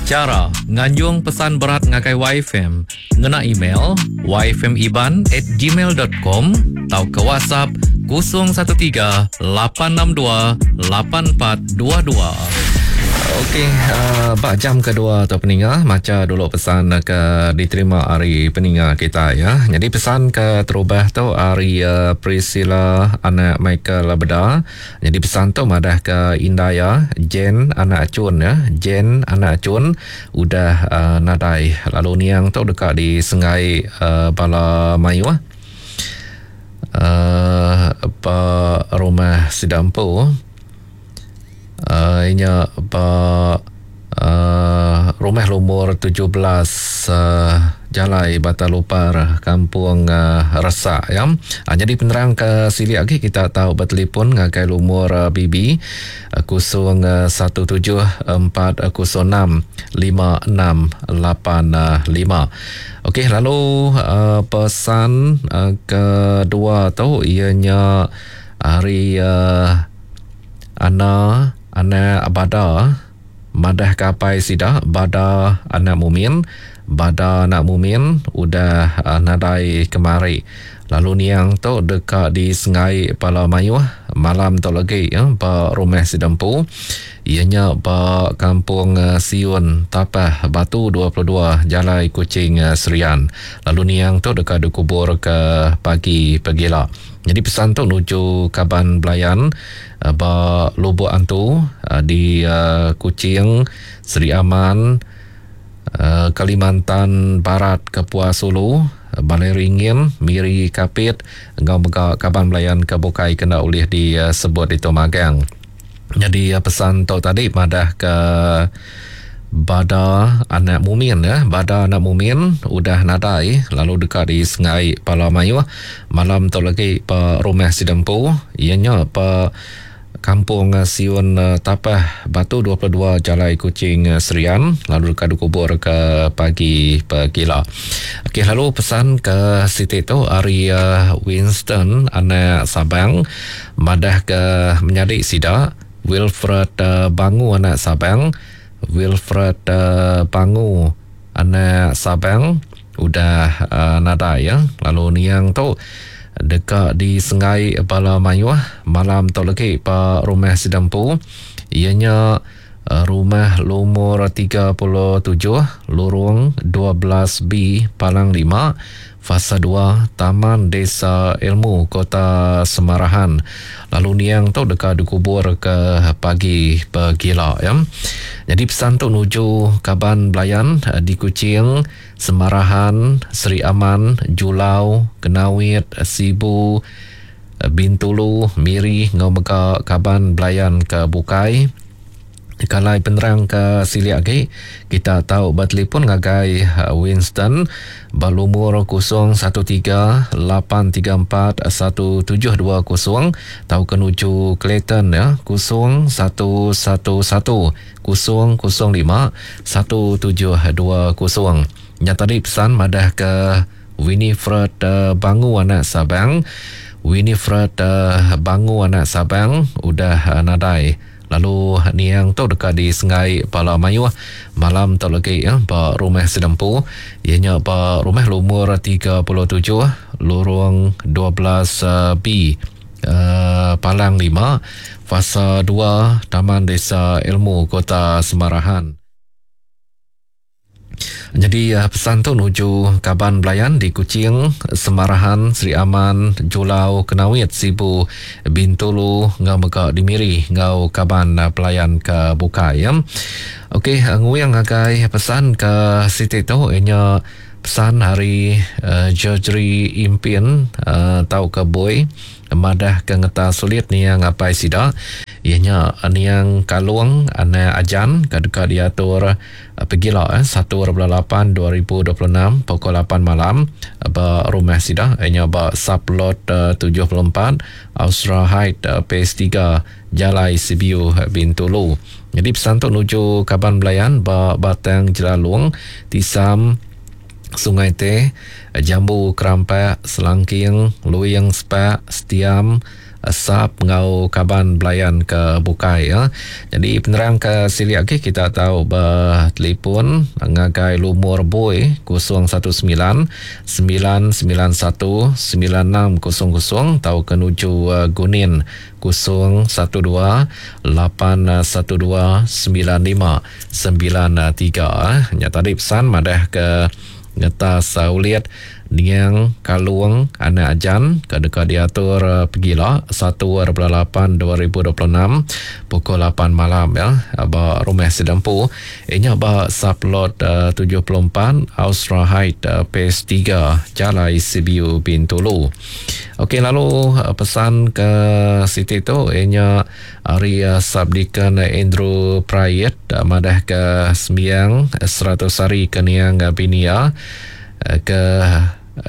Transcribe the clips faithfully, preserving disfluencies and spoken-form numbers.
Chara nganjung pesan berat ngagai Y F M ngena email y f m iban at gmail dot com atau ke WhatsApp kosong satu tiga lapan enam dua lapan empat dua dua. Okey, uh, bak jam kedua tu peninga maca dulu pesan ke diterima hari peninga kita ya. Jadi pesan ke terubah tu hari uh, Priscilla anak Michael Beda. Jadi pesan tu madah ke Indaya Jen anak Acun ya. Jen anak Acun udah uh, nadai. Lalu niang tu dekat di Sengai uh, Bala Mayuh. Uh, ba rumah Sidampu. Uh, inya ba uh, rumah lumur tujuh belas uh, Jalai Batalupar Kampung uh, Resak ya. Uh, jadi penerang ke sili lagi kita tahu bertelefon ngagai lumur uh, B B uh, kosong satu tujuh empat kosong enam lima enam lapan lima. Okey, lalu uh, pesan uh, kedua tu ianya hari uh, Ana anak Bada madah kapai sida Bada anak Mumin Bada anak Mumin udah uh, nadai kemari. Lalu niang tu dekat di Sengai Pala Mayuh malam tu lagi ya ba rumah Sidempu ianya ba kampung uh, Siun Tapah Batu dua puluh dua Jalai Kuching uh, Serian. Lalu niang tu dekat dikubur ke pagi pegila. Jadi pesan tu nuju kaban belayan uh, ba Lubuk Antu uh, di uh, Kuching, Seri Aman, uh, Kalimantan Barat, Kapuas Hulu, Balai Ringin, Miri Kapit, ngau mega kaban belayan ke bukai kena ulih disebut itu magang. Jadi uh, pesan tu tadi madah ke Bada anak Mumin ya, Bada anak Mumin udah nadai lalu dekat di Sengai Pala Mayuh malam tu lagi pa rumah Sidempu ianya pa Kampung Siun Tapah Batu dua puluh dua Jalai Kuching Serian lalu dekat dikubur ke pagi pegila. Okey, lalu pesan ke Siti tu hari uh, Winston anak Sabang madah ke menyadik sida Wilfred uh, Bangu anak Sabang Wilfred uh, Bangu anak Sabang udah uh, nadai ya. Lalu niang tu dekat di Sengai Bala Mayuh malam tu lagi pa rumah Sidempu ianya uh, rumah lumur tiga puluh tujuh lorong dua belas B Palang lima Fasa dua Taman Desa Ilmu Kota Semarahan. Lalu niang tu dekat dikubur ke pagi pegila ya. Jadi pesan tu nuju kaban belayan di Kuching, Semarahan, Seri Aman, Julau, Kenawit, Sibu, Bintulu, Miri ngau mega kaban belayan ke Bukai. Kalau penerang ke sili lagi kita tahu bertelefon ngagai Winston berlumur kosong satu tiga lapan tiga empat satu tujuh dua kosong tahu ke nuju Clayton ya kosong satu satu satu kosong kosong lima satu tujuh dua kosong. Yang tadi pesan madah ke Winifred Bangu anak Sabang Winifred Bangu anak Sabang udah nadai. Lalu niang tu dekat di Sengai Pala Mayuh malam tu lagi ya ba rumah Sidempu ianya ba rumah lumur tiga puluh tujuh lorong dua belas B uh, Palang lima Fasa dua Taman Desa Ilmu Kota Semarahan. Jadi pesan tu nuju kaban belayan di Kuching, Semarahan, Seri Aman, Julau, Kenawit, Sibu, Bintulu, ngau mega di Miri, ngau kaban pelayan ke Bukai ya. Okey, nguyang ngagai pesan ke Siti tu ianya pesan hari uh, Georgery Impian uh, tau ke boy madah ke ngeta sulit niang apai sida ianya niang Kalung anak Ajan ke dekat diatur pegila eh, satu lapan dua ribu dua puluh enam pukul lapan malam ba rumah sida ianya ba sublot uh, tujuh puluh empat Austra Height uh, Phase tiga Jalai Sibiu Bintulu. Jadi pesan tu nuju kaban belayan ba Batang Jelalung Tisam Sungai Teh, Jambu Kerampak, Selangking, Luyang Sepak, Setiam, Sap ngau kaban belayan ke bukai ya. Jadi penerang ke silik lagi kita tahu bertelefon ngagai lumur bui kosong satu sembilan sembilan sembilan satu sembilan enam kosong kosong atau ke nuju Gunin kosong satu dua lapan satu dua sembilan lima sembilan tiga. Nya tadi pesan madah ke ngetas ulit niang kalung anak ajan ke deka diatur pegila satu lapan dua ribu dua puluh enam pukul lapan malam ya ba rumah Sidampu inya ba sublot tujuh puluh empat Austra Height Phase tiga Jalai Sibiu Bintulu. Okey, lalu pesan ke siti tu inya ari Subdeacon Andrew Prayet madah ke sembiang seratus hari ke niang binia ke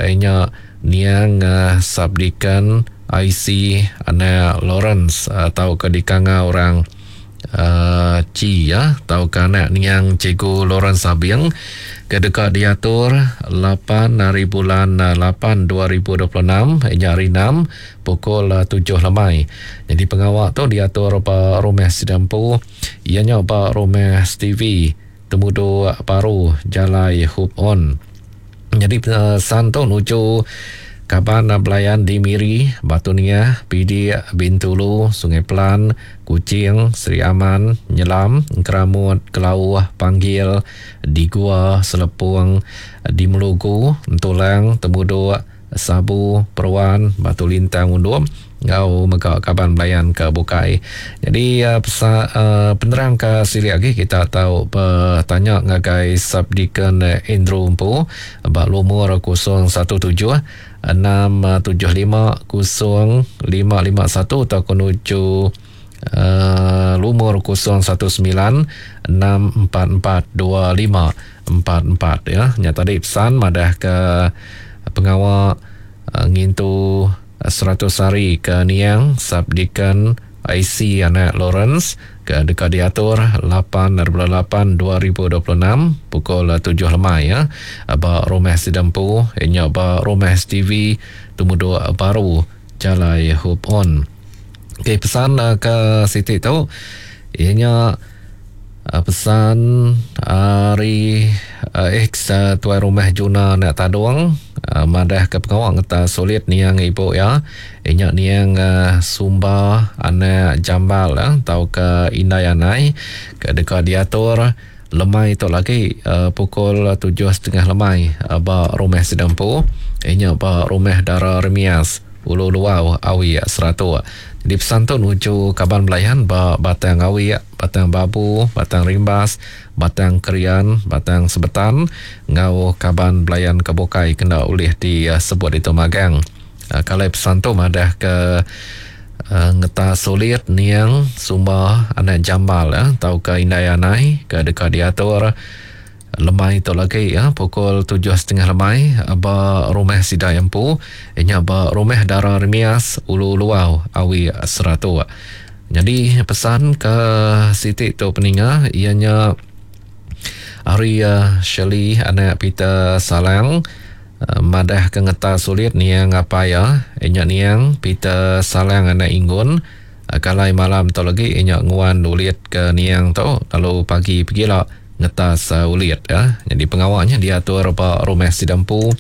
inya niang Subdeacon I C anak Lawrence atau ke dikanga orang uh, Ci ya atau ke anak niang Cikgu Lawrence Sabing ke deka diatur lapan hari bulan lapan dua ribu dua puluh enam inya hari enam pukul tujuh lemai. Jadi pengawal tu diatur ba rumah Sidampu ianya ba rumah Stevie Temudu Baru Jalai Hope On. Jadi pesan tu nuju kaban belayan di Miri, Batu Niah, Pidik, Bintulu, Sungai Pelan, Kuching, Seri Aman, Nyelam, Keramut, Kelauh, Panggil, di Gua, Selepung, di Melugu, Entulang, Temuduk, Sabu, Peruan, Batu Lintang, Undum, ngau mega kaban belayan ke bukai. Jadi uh, pesa, uh, penerang ke silik lagi kita tahu bertanya ngagai Subdeacon Andrew Empu ba lumur kosong satu tujuh enam tujuh lima kosong lima lima satu atau menuju uh, lumur kosong satu sembilan enam empat empat dua lima empat empat ya. Nya tadi pesan madah ke pengawal uh, ngintu seratus hari ke niang Subdeacon I C anak Lawrence ke deka diatur lapan lapan dua ribu dua puluh enam pukul tujuh lemai ya ba rumah Sidampu inya ba rumah Stevie Temudu Baru Jalai Hope On. Okey, pesan ke siti tu ianya pesan hari ex tuai rumah Juna nak tadung madah ke pengawal ngeta sulit niang ibu ya inya niang Sumba anak Jambal ya tau ke Indai Anai ke deka diatur lemai tu lagi pukul tujuh setengah lemai ba rumah Sidampu inya ba rumah Dara Remias Ulu Luau Awi Seratuk. Jadi pesan tu nuju kaban belayan ba Batang Awi, Batang Babu, Batang Rimbas, Batang Krian, Batang Sebetan ngau kaban belayan ke bukai kena ulih disebut itu magang. Uh, kalau pesan tu madah ke uh, ngeta sulit niang Sumba anak Jambal ya, tau ke Indai Anai ke deka diatur lemai tu lagi ya pukul tujuh setengah lemai ba rumah Sidai Empu inya ba rumah Dara Remias Ulu Luau Awi Seratuk. Jadi pesan ke siti tu peninga ianya hari uh, Shirley anak Peter Salang uh, madah ke ngeta sulit niang apa ya inya niang Peter Salang anak Inggun uh, kalai malam tu lagi inya nguan ulit ke niang tu lalu pagi pergilah ngetas uh, ulit ya. Jadi pengawalnya diatur ba rumah Sidampu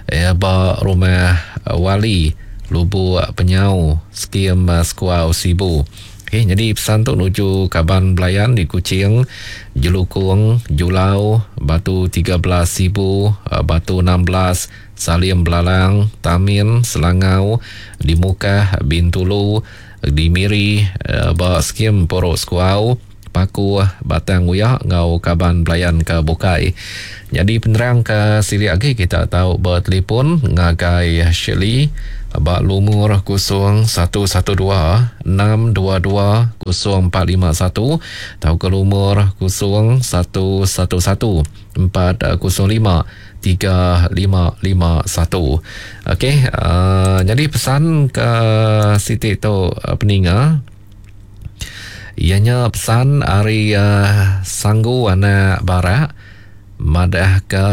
eh, ba rumah uh, Wali Lubuk Penyau Skim uh, Skuau Sibu. Okey, jadi pesan tu nuju kaban belayan di Kuching, Jelukung, Julau, Batu tiga belas Sibu, uh, Batu enam belas Salim Belalang, Tamin, Selangau, di Mukah, Bintulu, di Miri, uh, ba Skim Porok Skuau, Paku, Batang Uyak ngau kaban belayan ke bukai. Jadi penerang ke silik lagi kita tahu bertelefon ngagai Shirley ba lumur kosong satu satu dua enam dua dua kosong empat lima satu atau ke lumur kosong satu satu satu empat kosong lima tiga lima lima satu. Okey, uh, jadi pesan ke siti tu uh, peninga ianya pesan hari uh, Sanggu anak Barak madah ke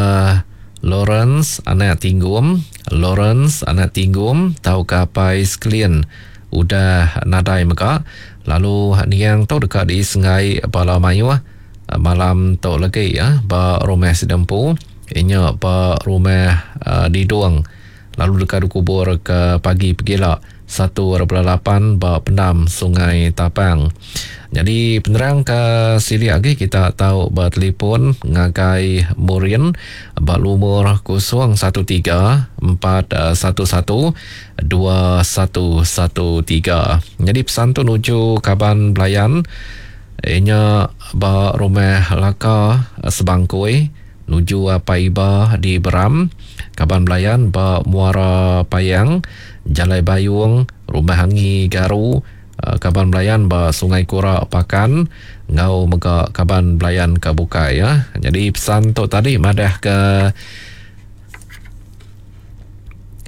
Lawrence anak Tinggum, Lawrence anak Tinggum tau ke apai sekalian udah nadai mega lalu niang tu deka disenggai bala mayuh malam tu lagi ya ba rumah Sidempu inya ba rumah uh, Didong lalu deka dikubur ke pagi pegila satu lapan ba pendam Sungai Tapang. Jadi penerang ke sili lagi kita tahu bertelefon ngagai Murin ba lumur kosong satu tiga empat satu satu dua satu satu tiga. Jadi pesan tu nuju kaban belayan inya ba rumah Laka Sebangkui nuju Apai Iba di Beram, kaban belayan ba Muara Payang, Jalai Bayung, Rumah Angi Garu, kaban belayan ba Sungai Kura Pakan, ngau mega kaban belayan ke bukai ya. Jadi pesan tu tadi madah ke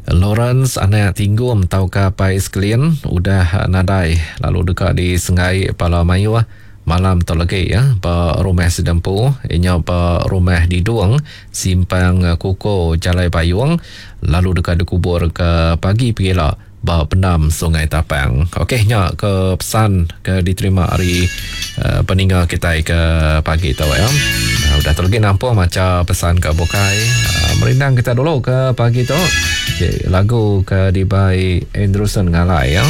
Lawrence anak Tinggum tau ke Pai Sklin udah nadai lalu dekat di Sengai Pala Mayuh malam tu lagi ya ba rumah Sidempu inya ba rumah Didung Simpang Kuko Jalai Bayung lalu dekat dikubur ke pagi pegila ba pendam Sungai Tapang. Okey nya ke pesan ke diterima hari uh, peninga kita ke pagi tu ya. Uh, udah tu lagi nampung maca pesan ke bukai. Uh, merindang kita dulu ke pagi tu. Okey lagu ke dibai Andrewson Ngalai ya.